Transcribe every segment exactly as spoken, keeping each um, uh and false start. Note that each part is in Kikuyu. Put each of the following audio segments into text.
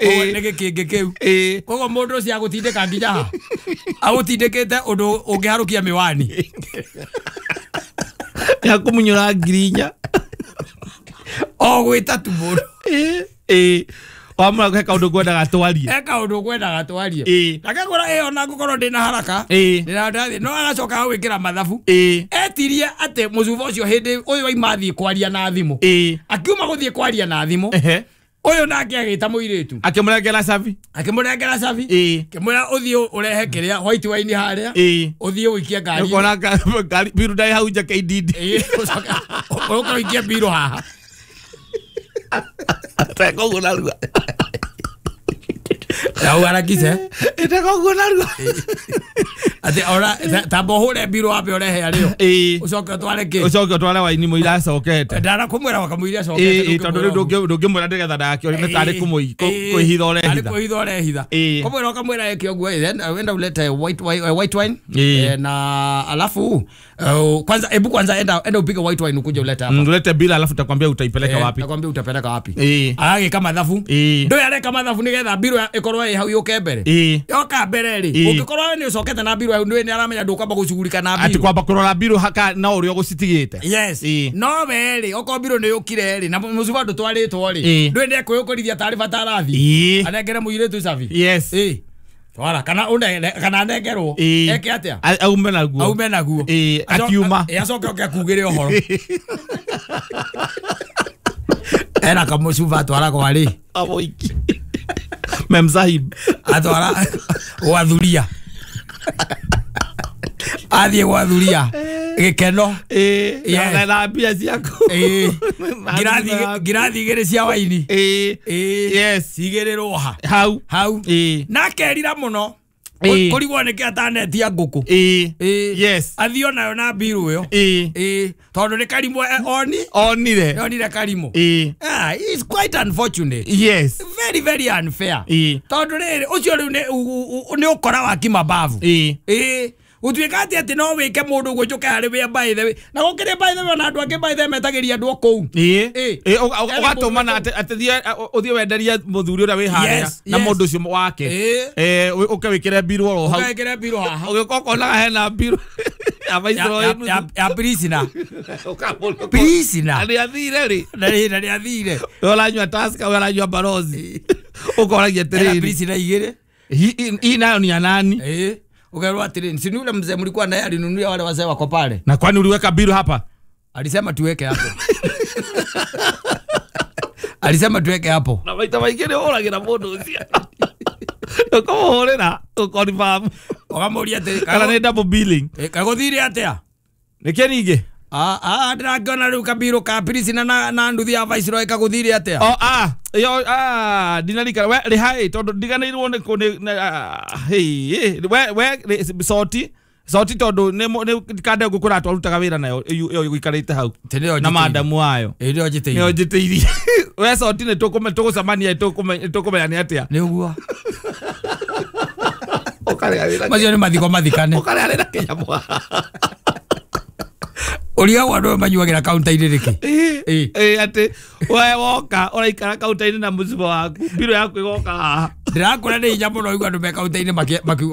Nĩ gĩkĩngĩ kĩu. Koguo mũndũ ũcio agũtindĩka nginya ha? Agũtindĩkĩte ũndũ ũngĩharũkia mĩwani. Ya kũmunyũra ngiri inya. O gwĩta tu mũndũ. Ĩĩ. Wamũra he kaũndũ ngwendaga twarie. He kaũndũ ngwendaga twarie. Akĩngwĩra ĩĩ ona ngũkorwo ndĩna haraka. Ĩĩ. No agacoka agwĩkĩra mathabu. Ĩĩ. Etirie atĩ mũcuba ũcio hĩndĩ ũyũ waima athiĩ kwaria na thimũ. Ĩĩ. Akiuma gũthiĩ kwaria na thimũ. Ũyũ nake agĩta mũirĩtu. Akĩmũrengera cabi. Akĩmũrengera cabi. Ĩĩ. Akĩmwĩra ũthiĩ ũrehe kĩrĩa white wine harĩa. Ĩĩ. Ũthiĩ ũikie ngari. Ũkona ngari biru ndai hau nja K D D. Ĩĩ. Ũcoke ũke ũikie biru haha. Teka ũguo narua. Na ũharakishe. Teka ũguo narua. Atĩ ora tamba ũhũre biru wambe ũrehe arĩo. Ĩĩ. Ũcoke ũtware kĩ? Ũcoke ũtware waini mũira acokete. Ndara kũmwĩra wakamũira acokete. Ĩĩ tondũ rĩu ndũngĩmwĩra nĩgetha ndagakĩone nĩ tarĩ kwĩhitha ũrehitha. Tarĩ kwĩhitha ũrehitha. Kũmwĩra ũkamwĩra eke ũguo then wenda ulete white white wine na alafu kwanza hebu kwanza enda enda upige white wine ukuje ulete hapa. Ulete bila alafu takwambia utaipeleka wapi. Takwambia utapeleka wapi. Agagĩka mathabu. Ndũĩ areka mathabu nĩgetha mbirũ ĩkorwo ĩ hau yũke mbere. Yoka mbere rĩ ũngĩkorwo we nĩ ũcokete na mbirũ ndũĩ nĩ aramenya ndũkwamba gũcugurika na mbirũ. Atĩ kwamba kũrora mbirũ haka na ũrĩa ũgũcitigĩte. Yes. No we rĩ okorwo mbirũ nĩ yũkire rĩ na mũcuba ndũtwarĩtwo rĩ ndũĩ nĩ ekwĩyũkũrithia tarĩ bata arathiĩ. Anengere mũirĩtu cabi. Yes. Twara kana une kana anengerwo eke atia aume naguo aume naguo eh akiuma acoke oke akugire ũhoro era kamũcuba atwara kwa rĩ aboiki memsahib atwara gwathuria athiĩ gwathuria gĩkeno eh na mbia ciaku eh ngirathi ngirathi igĩrĩ cia waini eh yes cigĩrĩrwo ha hau hau eh na kerira mũno kũrigwo nĩkĩ atanetia ngũkũ eh yes athiĩ onayo na mbirũ ĩyo eh eh tondũ nĩ karimũ oni onire onire karimũ eh ah it's quite unfortunate. Yes, very very unfair. Eh tondũ rĩrĩ ũcio rĩu nĩ ũkora wa kimabavu. Eh eh gũtuĩka atĩ atĩ no wĩke mũndũ ũguo njũke harĩ wĩ by the way na gũkĩrĩ by the way na andũ angĩ by the way metagĩria andũ o kũu. Ĩĩ ũgatũmana atĩ ũthiĩ wenderie mũthuri ũrĩa wĩ harĩa na mũndũ ũcio wake eh ũke wĩkĩre mbirũ oro hau ũkekĩre mbirũ haha ũgĩũka ũkonaga hena mbirũ ya ya prisoner prisoner na nĩathire rĩ na nĩathire we ũranyua Tusker we ũranyua Barozi ũkoragia atĩrĩrĩ prisoner igĩrĩ hii nayo ni ya nani? Eh ukaelwa atiri si yule mzee mlikuwa naye alinunulia wale wazee wako pale. Na kwani uliweka biru hapa? Alisema tuweke hapo. Alisema tuweke hapo. Na maita maingĩ ũragĩra mũndũ ũcio. Ũkamũhũrĩra ũkonfirm. Ũkamũria atĩrĩ kana nĩ double billing. Eh kagũthire atĩa? Nĩkĩ ningĩ? Ah ah ndĩrakĩona rĩu kabiru ka Priscilla na na nduthi ya Viceroy kagũthire atĩa? Oh ah yo ah ndinarikana we rĩha tondũ ndiganĩirwo nĩ hey we we soti soti tondũ nĩ kande ngũkũra twarutaga wĩra nayo ĩyo ĩgũikarĩte hau na madamu wayo nĩyo njĩtĩirie nĩyo njĩtĩirie we soti nĩ tũgũcemania tũkũmenya nĩ atĩa nĩ ũguo macio nĩ mathiko mathikane ũkarĩa na kĩnyamũ ũrĩa andũ manyuagĩra kaunta-inĩ nĩkĩ? Ĩĩ atĩ we woka ũraikara kaunta-inĩ na mũcibo waku mbirũ yaku ĩgoka haha. Ndĩrakũra nĩ hinya mũno igua andũ me kaunta-inĩ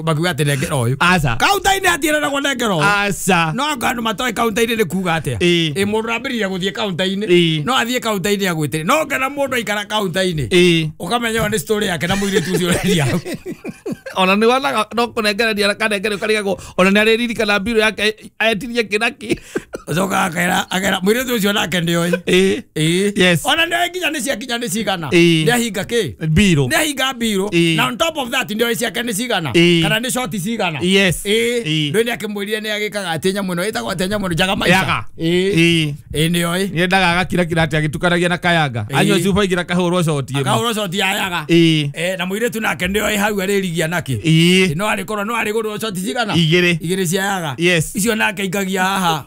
makiuga atĩ nengera ũyũ. Aca. Kaunta-inĩ hatiĩranagwo nengera ũyũ. Aca. No anga andũ matoĩ kaunta-inĩ nĩ kuga atĩa. Ĩ mũndũ ambĩrĩria gũthiĩ kaunta-inĩ no athiĩ kaunta-inĩ agwĩtĩre no ngena mũndũ aikara kaunta-inĩ ũkamenya ĩyo nĩ story yake na mũirĩtu ũcio ũrendia hau. Ona nĩ wonaga no kũnengereria kanengere ũkarigagwo ona nĩ arĩririkana mbirũ yake etirie kĩnaki. Ũcokaga akera akera mũirĩtu ũcio nake nĩoĩ. Ĩĩ. Ĩĩ. Yes. Ona nĩoĩ nginya nĩ ciakinya nĩ cigana. Nĩahinga kĩ? Mbirũ. Nĩahinga mbirũ. Na on top of that nĩoĩ ciake nĩ cigana. Kana nĩ shoti cigana. Yes. Ĩĩ. Ndũĩ nĩakĩmwĩrire nĩagĩkaga atĩ nyamũ ĩno ĩtagwo atĩa nyamũ ĩno njaga maica. Ĩĩ. Ĩĩ nĩoĩ. Nĩendaga agakirakira atĩ agĩtukanagia na kayanga. Anyua cuba igĩrĩ akahũrwo shoti ĩmwe. Akahũrwo shoti ya yaga. Ĩĩ. Na mũirĩtu nake nĩoĩ hau arĩrigia nake. Ĩĩ. No arĩkorwo no arĩgũrwo shoti cigana. Igĩrĩ. Igĩrĩ cia yaga. Yes. Icio nake aikagia haha.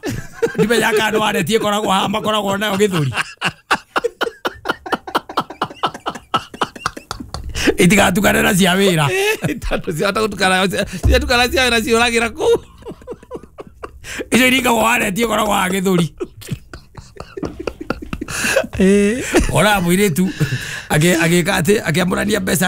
Ndimenya kana waretie ĩkoragwo haha makoragwo nayo gĩthũri. Itigatukane na cia wĩra. Tondũ ciahota gũtukana ciatukana cia wĩra ciũragĩra kũu. Icio iringagwo waretie ĩkoragwo haha gĩthũri. Ora mũirĩtu Agĩka atĩ akĩamũrania mbeca.